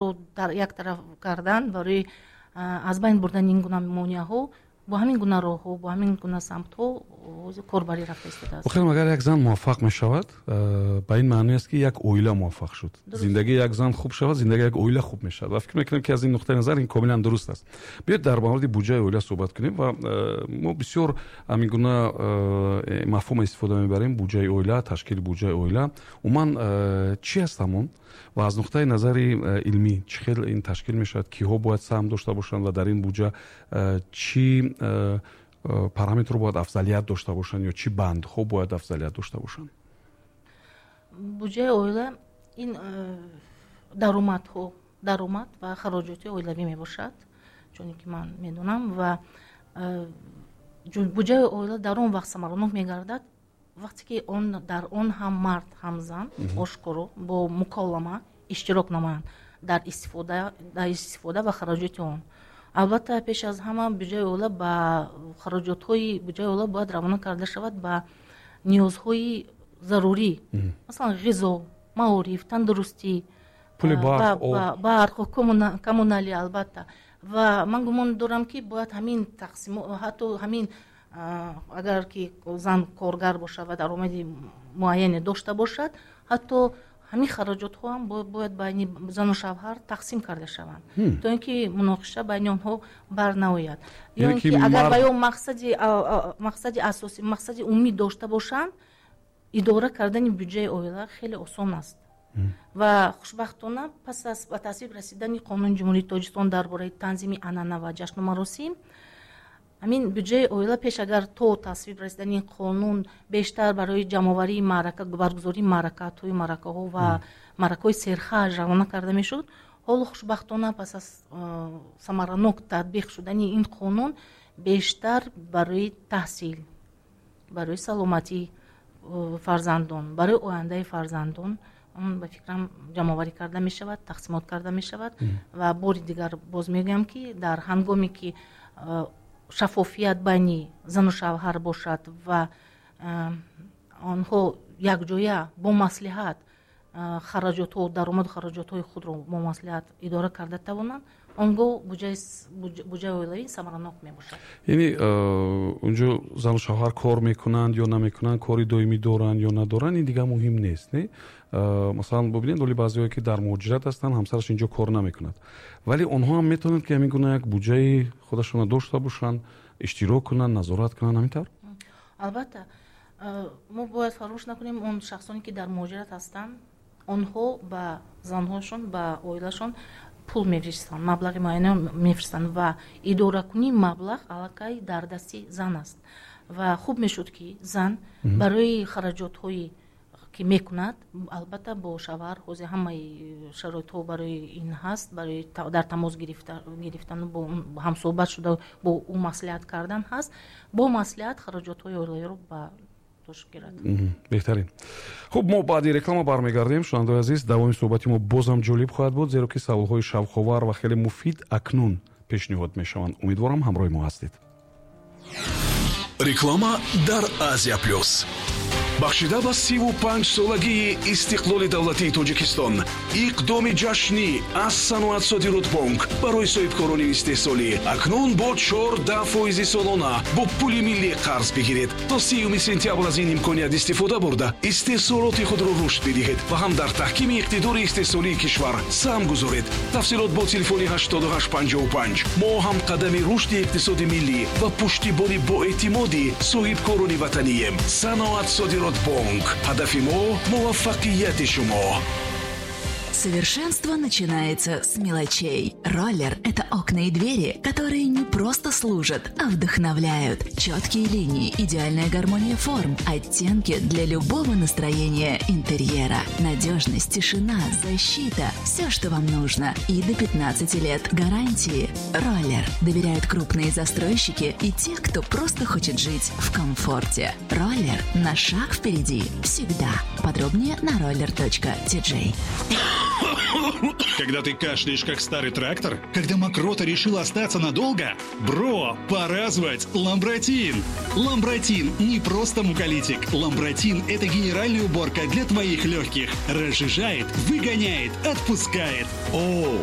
Дар як тараф кардан барои аз байн бурдани ин гуна монеаҳо бо ҳамин гуна роҳҳо, бо ҳамин гуна самтҳо корбарӣ рафта истодааст. Охир, агар як зан муваффақ мешавад, ба ин маъне аст, ки як оила муваффақ шуд. Зиндагии як зан хуб шавад, зиндагии як оила хуб мешавад, ва фикр мекунам, ки аз ин нуқтаи назар ин комилан дуруст аст. Биёед, дар мавриди буҷаи оила суҳбат кунем. Ва мо бисёр ҳамин гуна мафҳум истифода мебарем: буҷаи оила, ташкили буҷаи оила. Умуман, чӣ аст ҳамон ва аз нуқтаи назари илмӣ чӣ хел ин ташкил мешавад, киҳо бояд саҳм дошта бошанд ва дар ин буҷа чӣ параметрро бояд афзалият дошта бошанд ё чӣ бандҳо бояд афзалият дошта бошанд? Буҷаи оила ин даромадҳо, даромад ва хароҷоти оилавӣ мебошад, чуне ки ман медонам. Ва буҷаи оила дар он вақт самаранок мегардад, вақте ки он дар он ҳам мард, ҳам зан ошкоро бо муколама иштирок намоянд дар истифода ва хароҷоти он. Албатта, пеш аз ҳама буҷаи оила ба хароҷотҳои буҷаи оила бояд равона карда шавад ба ниёзҳои зарурӣ, масалан, ғизо, маориф, тандурустӣ, пули барқ, коммуналӣ, албатта. Ва ман гумон дорам, ки бояд ҳамин тақсим, ҳатто ҳамин агар ки зан коргар бошад ва даромади муайяне дошта бошад, ҳатто ҳамин хароҷотҳо ҳам бояд байни зану шавҳар тақсим карда шаванд, то ин ки муноқиша байни онҳо бар наояд. Ё ин ки агар ба ё мақсади асосӣ, мақсади умумӣ дошта бошанд, идора кардани буҷаи оила хеле осон аст. Ва хушбахтона, пас аз ба тасвиб расидани Қонуни Ҷумҳурии Тоҷикистон дар бораи танзими анъана ва ҷашну маросим, ҳамин буҷаи оила пеш агар то тасвиб расидани қонун бештар барои ҷамъоварии маърака, баргузории маърака, тӯю маъракаҳо ва маъракаҳои серхарҷ равона карда мешуд, ҳоло хушбахтона, пас аз самаранок татбиқ шудани ин қонун, бештар барои таҳсил, барои саломатии фарзандон, барои ояндаи фарзандон, ба фикрам, ҷамъоварӣ карда мешавад, тақсимот карда мешавад. Ва бори дигар боз мегӯям, ки дар ҳангоме ки шаффофият байни зану шавҳар бошад ва онҳо якҷоя бо маслиҳат хароҷотҳо, даромаду хароҷотҳои худро бо маслиҳат идора карда тавонанд, он гоҳ буҷаи оилавӣ самаранок мебошад. Яъне унҷо зану шавҳар кор мекунанд ё намекунанд, кори доимӣ доранд ё надоранд, ин дигар муҳим нест, не? Масалан, бубинед, оли баъзеҳое, ки дар муҳоҷират ҳастанд, ҳамсараш инҷо кор намекунад, вале онҳо ҳам метавонанд, ки ҳамин гуна як буҷаи худашонро дошта бошанд, иштирок кунанд, назорат кунанд, ҳамин тавр? Албатта, мо бояд фаромӯш накунем, он шахсоне, ки дар муҳоҷират ҳастанд, онҳо ба занҳошон, ба оилашон пул мефиристанд, маблағи муайяне мефиристанд ва идоракунии маблағ аллакай дар дасти зан аст. Ва хуб мешуд, ки зан барои хароҷотҳое ки мекунад, албатта, бо шавҳар, ҳозир ҳамаи шароитҳо барои ин ҳаст, барои дар тамос гирифтану бо ҳамсӯҳбат шуда, бо ӯ маслиҳат кардан ҳаст, бо маслиҳат хароҷотҳои оилавиро ба дӯш гирад. Беҳтарин. Хуб, мо баъди реклама бармегардем. Шунавандаои азиз, давоми суҳбати мо боз ҳам ҷолиб хоҳад буд, зеро ки саволҳои шавқовар ва хеле муфид акнун пешниҳод мешаванд. Умедворам, ҳамроҳи мо ҳастед. Реклама дар Азия Плюс. Бахшида ба 35-солагии истиқлоли давлатии Тоҷикистон иқдоми ҷашнӣ аз Саноат Содиротбонк барои соҳибкорони истеҳсолӣ: акнун бо 14 фоизи солона бо пули миллӣ қарз бигиред. То 30 сентябр аз ин имконият истифода бурда, истеҳсолоти худро рушд бидиҳед ва ҳам дар таҳкими иқтидори истеҳсолии кишвар саҳм гузоред. Тафсилот бо телефони 8855. Мо ҳамқадами рушди иқтисоди миллӣ ва пуштибони боэътимоди соҳибкорони ватанием. Саноат Содиротбонк, ҳадафи мо муваффақияти шумо. Совершенство начинается с мелочей. Роллер – это окна и двери, которые не просто служат, а вдохновляют. Четкие линии, идеальная гармония форм, оттенки для любого настроения интерьера. Надежность, тишина, защита – все, что вам нужно. И до 15 лет гарантии. Роллер. Доверяют крупные застройщики и те, кто просто хочет жить в комфорте. Роллер на шаг впереди. Всегда. Подробнее на roller.tj. Когда ты кашляешь, как старый трактор? Когда мокрота решила остаться надолго? Бро, пора звать Ламбратин! Ламбратин не просто муколитик. Ламбратин – это генеральная уборка для твоих легких. Разжижает, выгоняет, отпускает. О,